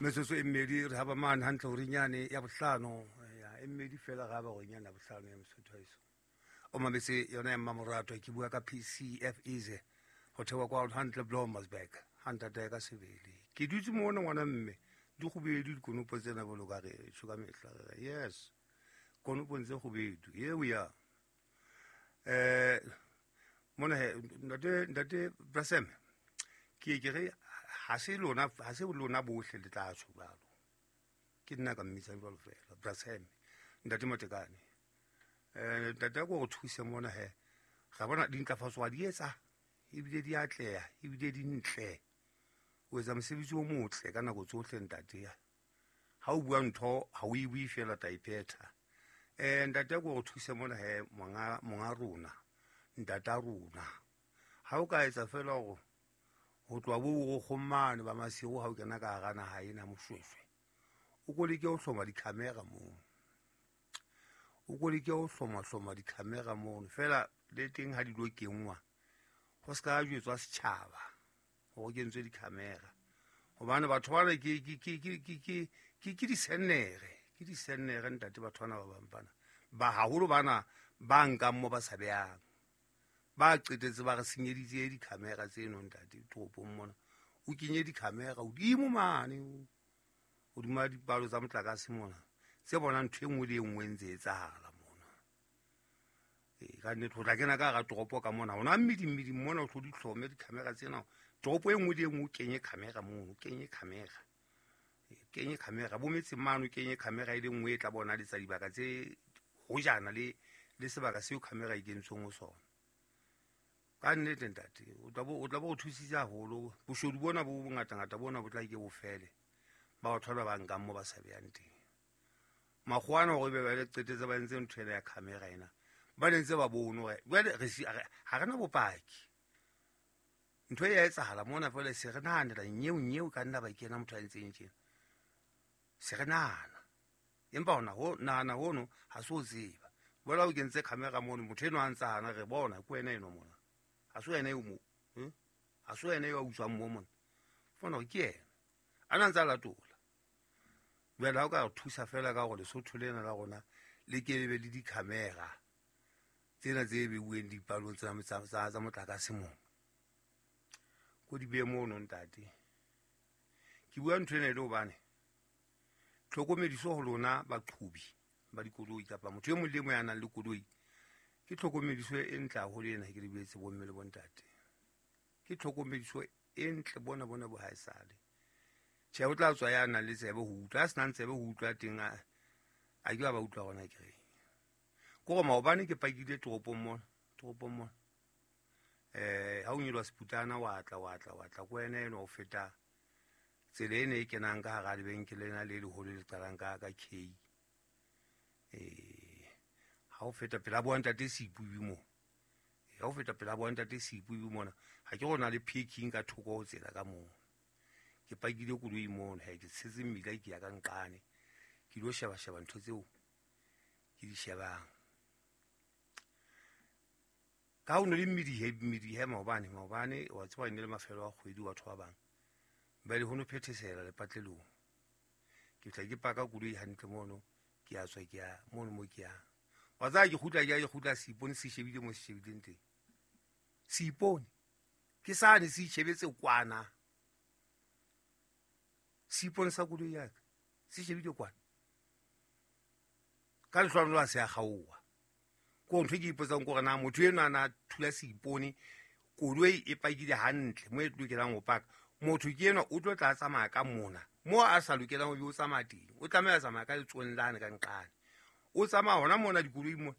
Metsotso e mmedi re haba mane hantle horinyane ya bohlano, ya e mmedi fela re haba horinyane ya bohlano ya Mosotho haeso. O mametse yona ya mmamoratwa, ke bua ka PCF Easy ho thewa kwa hantle Blomersburg, ha ntatae ka sebele. Ke dutse mona ngwana mme, di kgubedu dikonopo tsena bolo ka re tjho ka mehla re re yes. Konopong tse kgubedu, here we are. Mona he ntate Brasem, ke ke re ha se lona, ha se lona bohle le tla tjho jwalo. Ke nna ka mmitsang jwalo fela, Brasem, ntate Matekane. Ntate ko re thuse mona he. Ra bona dintlafatso wa di etsa, ebile di atleha, ebile di ntle. O etsa mosebetsi o motle ka nako tsohle ntate. Ha o bua ntho, ha o e bue fela, ta e phetha. Ntate ko re thuse mona he, monga rona, ntata rona. Ha o ka etsa fela hore ho tloha bo borokgong mane ba masiu ha o kena ka hara naha ena Moshweshwe, o ko leke ho hloma di-camera mono. O ko leke ho hloma di-camera mono. Feela le teng ha di lo kenngwa, ho se ka jwetswa setjhaba hore ho kentswe di-camera. Hobane batho bana ke disennere, ke disennere ntate batho bana ba bang bana. Ba haholo bana ba nkang mo ba sa behang. Ba qetetse ba re senyeditse di-camera tseno ntate toropong mona. O kenye di-camera hodimo mane, hodima dipalo tsa motlakase mona, tse bonang ntho e nngwe le e nngwe e ntse e etsahala mona. Ka nnete ho tla kena ka hara toropo ka mona, hona mmidi-mmidi mona o tlo di hlome di-camera tsena. Toropo e nngwe le e nngwe o kenye camera mono, o kenye camera. Kenye camera bo metseng mane, o kenye camera e le nngwe e tla bona letsa dibaka tse hojana le sebaka seo camera e kentsweng ho sona. Ka nnete ntate, o tla bo o thusitse haholo. Boshodu bona bo bongatangata bona bo tla ke bo fele. Ba batho ba ba nkang mo ba sa behang teng. Makgowa ana hore be ba le qetetse ba entse ntho ena ya camera ena, ba ne ntse ba bone hore jwale re si, ha re na bopaki. Ntho e ya etsahala mona fela se re nahanela nyeo nyeo ka nna ba kena motho a entseng tjena. Se re nahana. Empa hona ho nahana hono ha se o tseba. Jwale ha o kentse camera mono, motho enwa a ntsa hana re bona ke wena enwa mona. Ha se wena eo mo. Ha se wena eo a utswang mo mona. Fona hore ke yena. A na ntsa latola. Jwale ha o ka re thusa fela ka hore Lesotho lena la rona le ke le be le di-camera tsena tse beuweng dipalong tsa motlakase mono. Ko di behe mono ntate. Ke bua ntho ena e le hobane tlhokomediso ho lona baqhobi ba dikoloi kapa motho e mong le e mong ya nang le koloi, ke tlhokomediso e ntle haholo ena ke le buetse bomme le bontate. Ke tlhokomediso e ntle bona bona bo haesale. Tjhe, o tla tswa ya nang le tsebe ho utlwa, a senang tsebe ho utlwa teng, a ke ba utlwa hona ke reng. Ke hore maobane ke pakile toropong mona, toropong mona. Ha o nyoloha Seputana, wa tla, wa tla, wa tla, ke wena enwa o feta tsela ena e kenang ka hara lebenkele lena le leholo le qalang ka K. Ha o feta pela bo ntate Seipubi mo. Ha o feta pela bo ntate Seipubi mona, ha ke rona le parking ka thoko ho tsela ka moo. Ke pakile koloi mono, he ke tshetse mmila ke ya ka nqane. Ke lo sheba sheba ntho tseo ke di shebang. Ka ho no le mmidi mmidi he maobane, maobane wa tseba e ne le mafelo a kgwedi batho ba bang. Ba le ho no phethesela lepatlelong. Ke tla ke paka koloi hantle mono, ke a tswa ke ya mono mo ke yang. Wa tseba ke kgutla ke ya ke kgutla seipone se shebile mo se shebileng teng. Seipone ke sane se itjhebetse kwana. Seipone sa koloi ya ka se shebile kwana. Ka lehlwanolo a se a kgaoha. Ko ntho e ke ipotsang ke hore na motho enwa a na thula seipone, koloi e pakile hantle mo e lokelang ho paka. Motho ke enwa o tlo tla tsamaya ka mona mo a sa lokelang ho be o tsamaya teng. O tlameha a tsamaya ka letsohong lane ka nqane. O tsamaya hona mona dikoloi mona.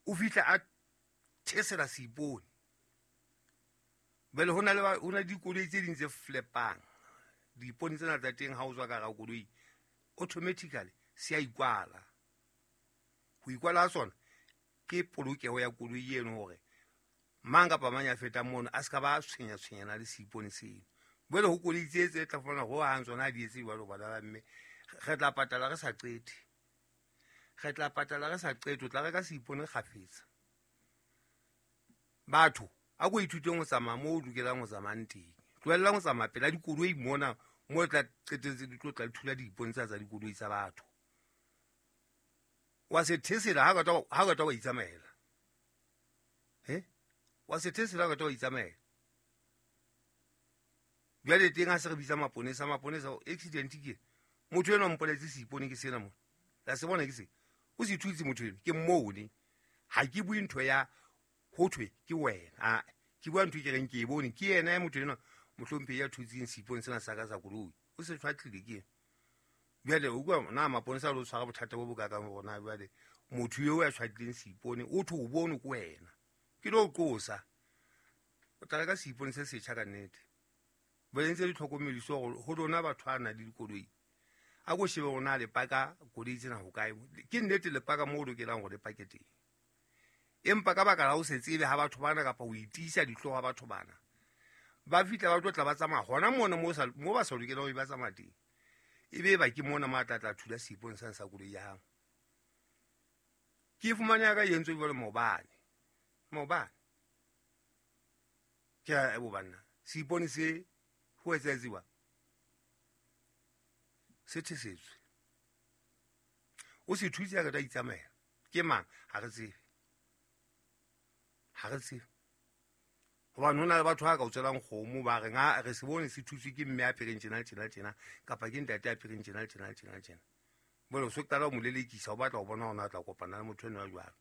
O fihla a thesela seipone. Jwale ho na le ba, ho na le dikoloi tse ding tse flepang. Diipone tsena tsa teng ha o tswa ka hara koloi, automatically se a ikwala. Ho ikwala ha sona ke polokeho ya koloi eno hore mang kapa mang ya fetang mono a se ka ba tshwenya tshwenyana le seipone seno. Jwale ho koloi tse tse tla fumana ho hang tsona ha di etse jwalo bana ba mme, re tla patala re sa qete. Re tla patala re sa qete, o tla reka seipone kgafetsa. Batho, a ko ithuteng ho tsamaya moo o lokelang ho tsamayang teng. Tlohellang ho tsamaya pela dikoloi mona mo tla qetelletse di tlo tla thula diipone tsa dikoloi tsa batho. Wa se thesela ha ka wa itsamaela. Wa se thesela ha ka wa itsamaela. Jwale teng ha se re bitsa maponesa accident ke motho enwa mpoletse seipone ke sena mo. La se bona ke se. O se thutse motho eno ke mmone. Ha ke bue ntho ya ho thwe ke wena. Ke bua ntho ke reng ke e bone ke yena ya motho enwa mohlomphehi ya thutseng seipone sena sa ka sa koloi. O se tshwatlile ke. Jwale o bua na maponesa lo tshwara bothata bo bokakang rona jwale motho eo ya tshwatlileng seipone o thwe o bone ke wena. Ke lo qosa. O tla reka seipone se setjha ka nnete. Ba entse ditlhokomediso ho lona batho ba nang le dikoloi. A ko shebe hore na le paka koloi tsena ho kae. Ke nnete le paka moo lokelang hore le pake teng. Empa ka baka la ho se tsebe ha batho bana kapa ho itiisa dihlooho ha batho bana, ba fihla ba tlo tla ba tsamaya hona mona mo ba sa lokelang ho ba tsamaya teng. Ebe ba ke mona mo a tla thula seipone sane sa koloi ya hao. Ke fumane ya ka e entswe jwale maobane. Maobane. Ke a bo banna. Seipone se ho etsahetsiwa se thesetswe. O se thutse ya ka tla itsamaela. Ke mang? Ha re tsebe. Ha re tsebe. Hobane ho na le batho ba ka o tswelang kgomo ba reng ha re se bone se thutswe ke mme a apereng tjena tjena tjena kapa ke ntate a apereng tjena tjena tjena tjena. Jwale o so qala ho mo lelekisa o batla ho bona hore na tla kopana le motho enwa jwang.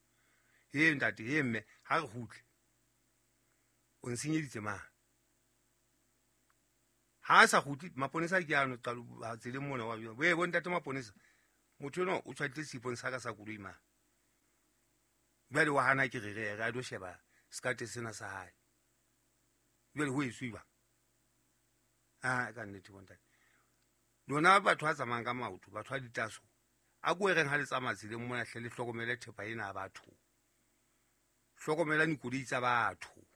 He ntate, he mme, ha re kgutle. O nsenyeditse mang? Ha sa kgutle maponesa ke ano qalo tseleng mona wa jwang. Bo ntate maponesa motho enwa o tshwatlile seipone sa ka sa koloi mang. Jwale wa hana ke re re a do sheba sekate sena sa hae. Jwale ho etswe jwang? Ka nnete bontate. Lona batho ba tsamayang ka maoto, batho ba ditaso, a ko e reng ha le tsamaya tseleng mona hle le hlokomele thepa ena ya batho. Hlokomela dikoloi tsa batho.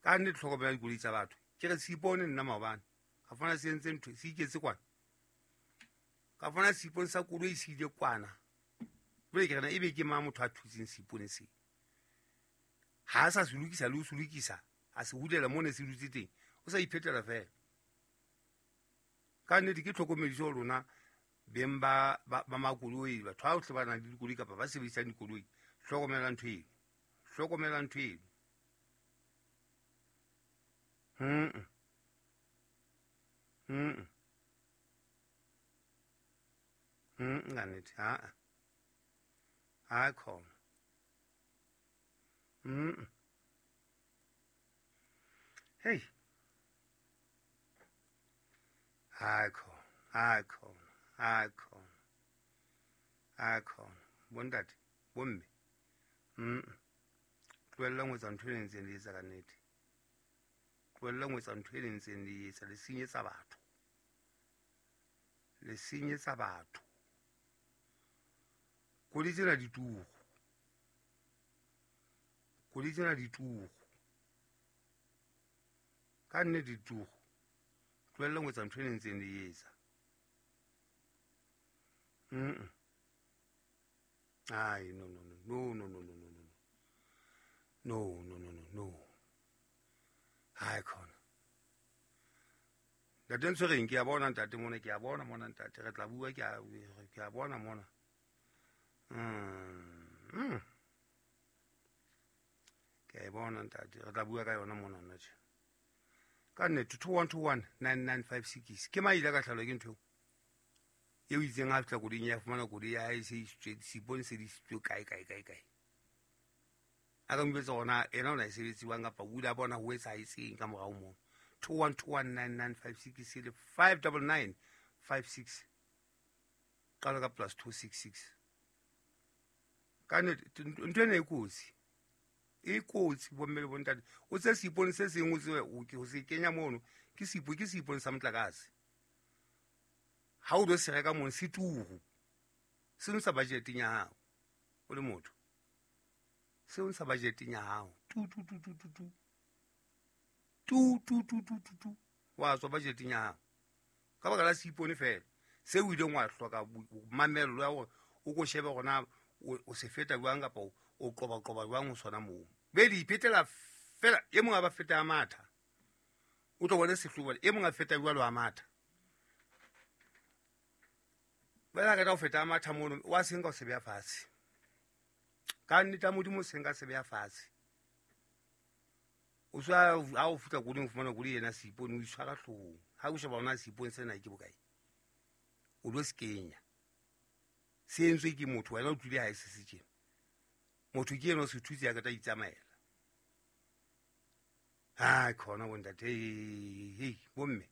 Ka nnete hlokomela dikoloi tsa batho. Ke re seipone nna maobane. Ka fumana se entse ntho, se iketse kwana. Ka fumana seipone sa koloi se ile kwana. Jwale ke re na ebe ke mang motho a thutseng seipone se? Ha a sa se lokisa le ho se lokisa, a se hulela mo ne se dutse teng. O sa iphetela fela. Ka nnete ke tlhokomediso lona beng ba makoloi, batho ba bohle ba nang le dikoloi kapa ba sebedisang dikoloi. Hlokomela ntho eno. Hlokomela ntho eno. Ka nnete ha. Ha khona. Hey. Ha khona, ha khona, ha khona. Ha khona. Bontate, bomme. Tlohellang ho etsa ntho e ntseng le etsa ka nnete. Tlohellang ho etsa ntho e ntseng le etsa, le senyetsa batho. Le senyetsa batho. Koloi tsena di turu. Koloi tsena di turu. Ka nnete di turu. Tlohellang ho etsa ntho e ntseng le etsa. Ai, no no no no no no no no no. No no no no no. Hai khona. Ntate Ntshwereng ke a bona ntate mona, ke a bona mona ntate, re tla bua ke a bona mona. Ke a bona ntate, re tla bua ka yona mona nna tje. Ka nnete 21219956 ke maile ka tlhalo ke ntho eo itseng ha fihla koloing ya fumana koloi ya hae se isitswe seipone se isitswe kae kae kae kae. A ka mpetsa hona ena o na e sebetsiwang kapa o ile a bona ho etsahetseng ka morao moo. 21219956 le 59956 qala ka plus 266. Ka nnete ntho ena e kotsi. E kotsi bomme le bontate. O tse seipone se seng o tsebe o se kenya mono ke seipone sa motlakase. Ha o do se reka mono se turu. Se ntsha budgeteng ya hao o le motho. Se ntsha budgeteng ya hao. Tu tu tu tu tu tu. Tu tu tu tu tu tu. Wa tswa budgeteng ya hao. Ka baka la seipone fela. Se o ileng wa hloka mamello ya hore o ko shebe hore o se feta jwang kapa o qoba jwang ho sona moo. Be di iphetela fela e mong a ba feta matha. O tlo bone sehlobo e mong a feta jwalo a matha. Ba ka tla o feta a matha mono wa senka o se beya fatshe. Ka nnete Modimo o senka se beya fatshe. O swa ha o fihla koloi o fumana koloi ena seipone o itshwara hloohong. Ha o sheba ona seipone sena ke bokae? O lo se kenya. Se entswe ke motho wena o tlile ha e se se tjena. Motho ke eno se thutse ya ka tla itsamaela. Ha khona bontate hey bomme.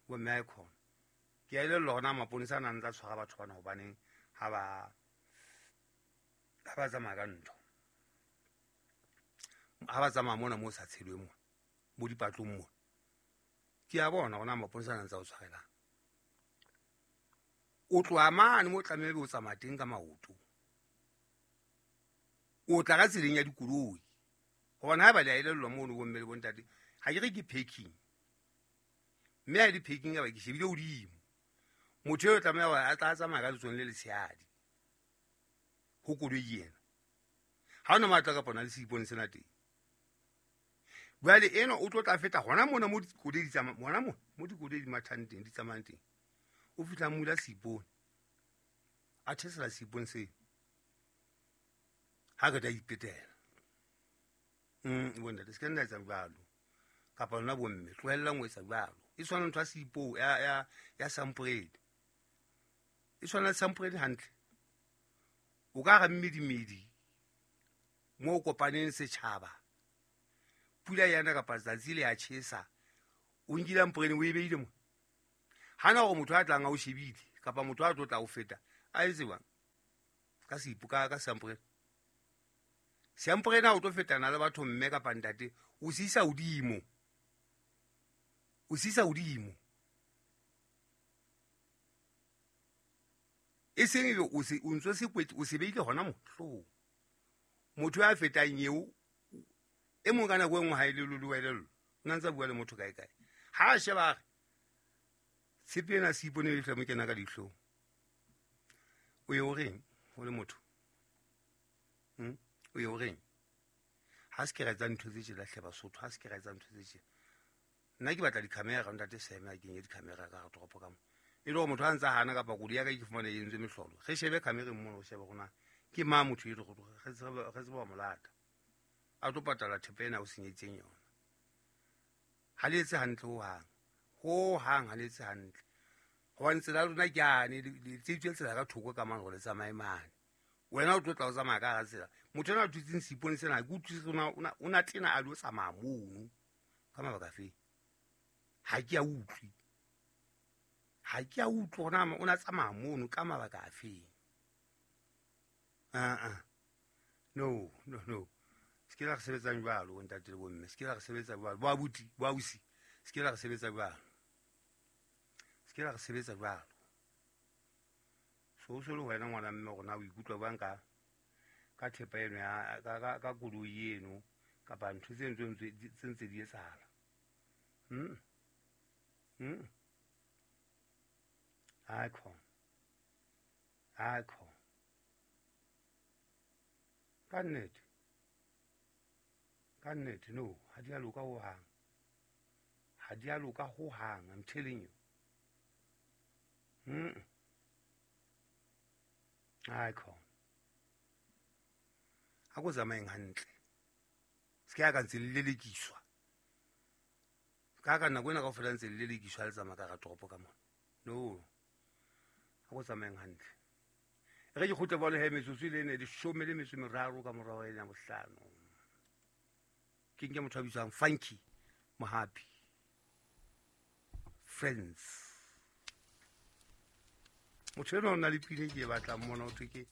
Bomme ha khona. Ke a elellwa hona maponesa a nang tla tshwara batho bana hobaneng ha ba tsamaya ka ntho. Ha ba tsamaya mona mo sa tshelweng mona, bo dipatlong mona. Ke a bona hona maponesa a nang tsa o tshwarelang. O tloha mane mo tlamehile o tsamaya teng ka maoto. O tla ka tseleng ya dikoloi. Hobane haeba le a elellwa mono bomme le bontate, ha ke re ke parking. Mme ha e le parking ya ba ke shebile hodimo. Motho eo tlameha hore a tla tsamaya ka letsohong le letshehadi ho koloi ena. Ha ona matla kapa ona le seipone sena teng. Jwale ena o tlo tla feta hona mona mo dikoloi di tsamaya, hona mona mo dikoloi di mathang teng, di tsamayang teng. O fihla mula seipone. A thesela seipone seo. Ha ka tla ipetela. Bontate se ka nna etsa jwalo. Kapa lona bomme tlohellang ho etsa jwalo. E tshwana ntho ya seipo ya samporele. E tshwana le samporele hantle. O ka ra mmedimedi mo kopaneng setjhaba. Pula yana kapa tsatsi le ya tjhesa. O nkile amporele o e beile mo. Hana hore motho a tlang a o shebile kapa motho a tlo tla o feta a etse jwang? Ka seipo ka samporele. Samporele ha o tlo fetana le batho mme kapa ntate o se isa hodimo. O se isa hodimo. E seng ebe o se o ntso se kwetse o se beile hona mo hloohong. Motho ya fetang eo e mong ka nako e nngwe ha e le lolo, o na ntsa bua le motho kae kae. Ha a sheba a re tshepe ena seipone e mo kena ka dihlong. O ye o reng o le motho? O ye o reng? Ha se ke ra etsa ntho tse tjena hle Basotho, ha se ke ra etsa ntho tse tjena. Nna ke batla di-camera, ntate Seme a kenye di-camera ka hara toropo ka mo. E le hore motho ha ntsa hana kapa koloi ya ka ke fumane e entswe mehlolo. Re shebe camereng mono, re shebe hore na ke mang motho eno, re tsebe ho mo lata. A tlo patala thepa ena o senyeditseng yona. Ha le etse hantle hohang. Hohang ha le etse hantle. Hobane tsela ya lona ke yane, le tseitswe tsela ka thoko ka mane hore le tsamaye mane. Wena o tlo tla o tsamaya ka hara tsela. Motho enwa a dutseng seipone sena, ha ke utlwisise o na tena a lo tsamaya mono. Ka mabaka afe? Ha ke a utlwe. Ha ke a utlwe hore na o na tsamaya mono ka mabaka afe. No, no, no. Se ke la re sebetsang jwalo, ntate le bomme. Se ke la re sebetsa jwalo. Bo abuti, bo ausi. Se ke la re sebetsa jwalo. Se ke la re sebetsa jwalo. So so le wena ngwana mme rona o ikutlwa bang ka thepa eno ya ka koloi eno kapa ntho tse ntse di etsahala. Ha khona. Ha khona. Ka nnete. Ka nnete no, ha di a loka hohang. Ha di a loka hohang, I'm telling you. Ha khona. Ha ko tsamayeng hantle. Se ke ya ka ntse le lelekiswa. Ka nako ena kaofela ntse le lelekiswa le tsamaya ka hara toropo ka mona. No. Ha ko tsamayeng hantle. Re ke kgutle bolo he metsotso le ne 13 ka morao ena bohlano. Ke nke motho a bitswang Funky Mohapi. Friends. Motho ena o na le pina ke e batlang mona ho thwe ke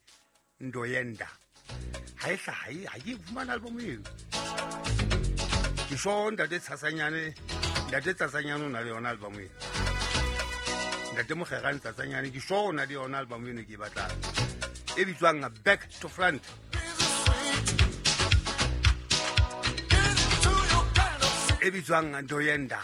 Ndoyenda. Ha e hlahe, ha ke fumana album eo. Ke sho ntate Tsasanyane, ntate Tsasanyane o na le yona album eo. Ntate Mokgerane Tsatsanyane ke sho o na le yona album eno ke e batlang. E bitswang Back to Front. E bitswang Ndoyenda.